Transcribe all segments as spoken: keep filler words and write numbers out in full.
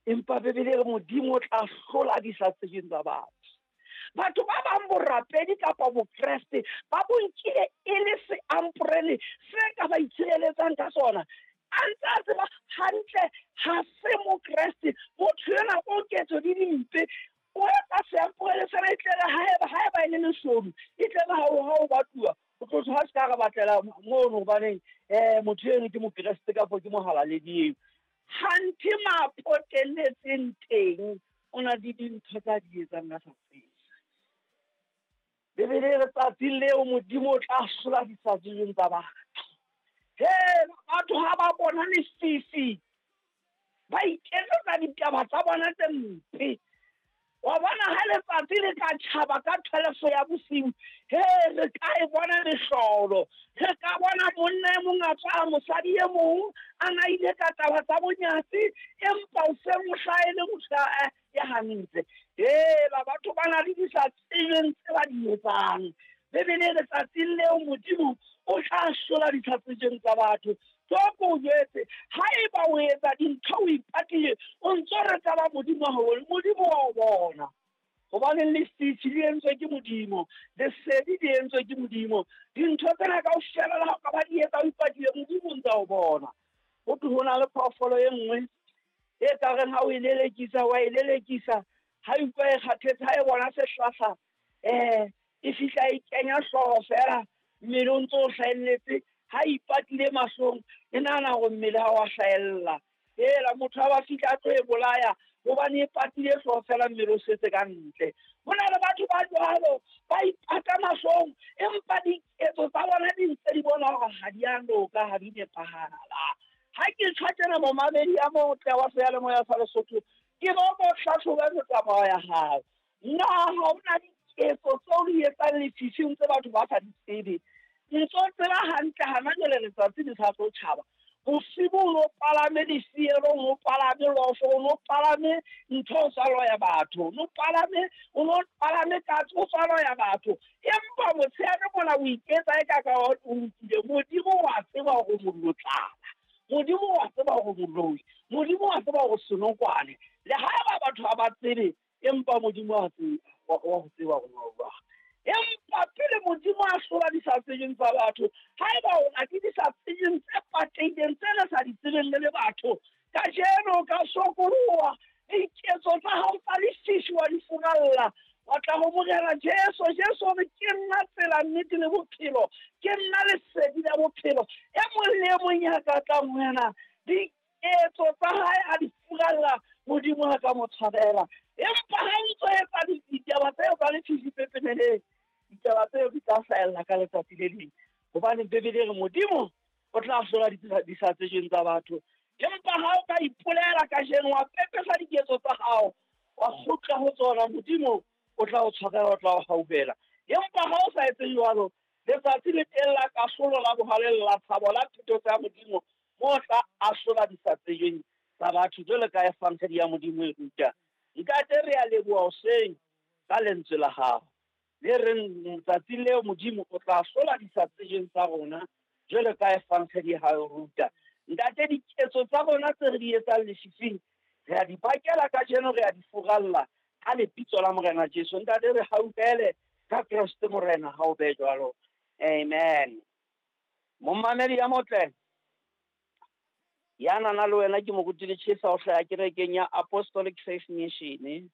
Empa Bibele e re Modimo o tla hlola di sa tsejweng tsa batho. Batho ba bang borapedi kapa bokreste ba bo nkile e le seamporele se ka ba itshireletsang ka sona. A ntse a tseba hantle ha se mokreste, motho enwa o ketso di dimpe, o etsa seamporele sena e tle re haeba haeba e le leshodu, e tle re ha o ha o batluwa, o tlo thwe ha se ka re batlela mono hobaneng um motho eno ke mokreste kapa ke mohalaledi eo. Hanthe mapotelletseng teng o na le dintho tsa di etsang a sa tsebe. Bibele e re tsatsing leo Modimo o tla hlola di sa tsejweng tsa batho. He, batho ha ba bona lefifi ba iketsetsa ditaba tsa bona tse mpe. Wa bona ha letsatsi le ka tjhaba ka twelve ya bosiu, he, re ka e bona mehlolo. Re ka bona monna e mong a tswa mosadi e mong a na ile ka taba tsa bonyatsi, empa o seng o hlaele motho ya hantle. Hela, batho ba na le di sa tsebeng tse ba di etsang. Bibele e re tsatsing leo Modimo o tla hlola di sa tsejweng tsa batho. Toko o jwetse, haeba o etsa dintho o ipatile, o ntso re taba Modimo haholo, Modimo wa o bona. Hobane lefifi le entswe ke Modimo, lesedi le entswe ke Modimo. Dintho tsena kaofela le ha o ka ba di etsa o ipatile, Modimo o ntsa o bona. Ho thwe ho na le phoofolo e nngwe e ka reng ha o e lelekisa, wa e lelekisa, ha e utlwa e kgathetse, ha e bona sehlahla, eh, e fihla e kenya hlooho fela, mmele o ntso o hlahelletse, ha ipatile mahlong, e nahana hore mmele ha wa hlahella. Hela, motho ha ba fihla a tlo e bolaya, hobane e patile hlooho fela, mmele o setse ka ntle. Ho na le batho ba jwalo, ba ipata mahlong, empa diketso tsa bona di ntse di bona hore ha di a loka, ha di nepahala. Ha ke tjho tjena momamedi ya motle wa seyalemoya sa Lesotho, ke bo hlahloba metsamao ya hao. Na ha hona diketso tseo di etsang lefifing tse batho ba sa di tsebe? Ntso tseba hantle hana jwale letsatsi le sa tlo tjhaba. Bosibu o no palame difielo, o no palame lofo, o no palame ntho o sa loya batho, o no palame, o no palame katse o sa loya batho. Empa motshehare mona o iketsa e ka ka o lokile. Modimo wa tseba hore molotsana, Modimo wa tseba hore moloi, Modimo wa tseba hore senokwane. Le haeba batho ha ba tsebe, empa Modimo wa tseba, wa ho tseba hore o jwang. Empa pele Modimo a hlola di sa tsejweng tsa batho, haeba o na ke di sa tsejweng tse patehileng tse le sa di tsebeng le le batho, kajeno ka sokoloha, diketso tsa hao tsa lefifi wa di furalla, wa tla ho Morena Jesu. Jesu o re, ke nna tsela, nnete le bophelo, ke nna lesedi la bophelo. E mong le e mong ya ka tlang ho yena, diketso tsa hae a di furalla, Modimo a ka mo tshwarela. Empa ha o ntso etsa ditaba tseo tsa lefifi pepeneneng, ditaba tseo di tla hlahella ka letsatsi le leng. Hobane Bibele e re Modimo o tla hlola di sa tsejweng tsa batho. Empa ha o ka ipolela kajeno, wa pepesa diketso tsa hao, wa kgutla ho tsona, Modimo o tla o tshwarela, o tla o hauhela. Empa ha o sa etse jwalo, letsatsi le teng la kahlolo, la bohale, la tshabo, la thuto tsa Modimo, mo tla ahlola di sa tsejweng tsa batho, jwalo ka evangeli ya Modimo e ruta. Ntate, re a leboha hoseng ka lentswe la hao le reng tsatsing leo Modimo o tla hlola di sa tsejweng tsa rona, jwalo ka evangeli ya hao e ruta. Ntate, diketso tsa rona tse re di etsang lefifing, re a di bakela kajeno, re a di furalla ka lebitso la Morena Jesu. Ntate, re hauhele ka Kreste Morena, ha o be jwalo. Amen. Momamedi ya motle, ya nana le wena ke moruti Letjhesa o hlaha kerekeng ya Apostolic Faith Mission,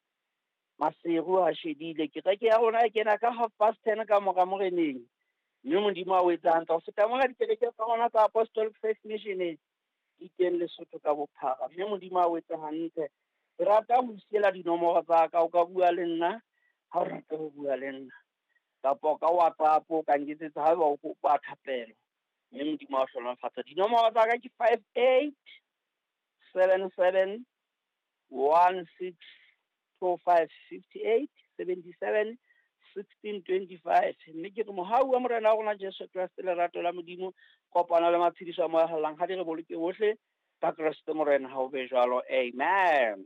Maseru ha shedile. Kereke ya rona e kena ka half past ten ka mora moreneng, mme Modimo a o etsa hantle. Ho feta mona, dikereke tsa rona tsa Apostolic Faith Mission di teng Lesotho ka bophara, mme Modimo a o etsa hantle. Ke rata ho siela dinomoro tsa ka, o ka bua le nna ha o rata ho bua le nna, kapa ka WhatsApp o ka nketsetsa haeba o kopa thapelo, mme Modimo a o hlohonolofatse. Dinomoro tsa ka ke five eight seven seven one six two five fifty eight seventy seven sixteen twenty five. Mme ke re mohau wa Morena wa rona Jesu Kreste, lerato la Modimo, kopano le matshediso a Moya o Halalelang, ha di re boloke bohle ka Kreste Morena, ha o be jwalo. Amen.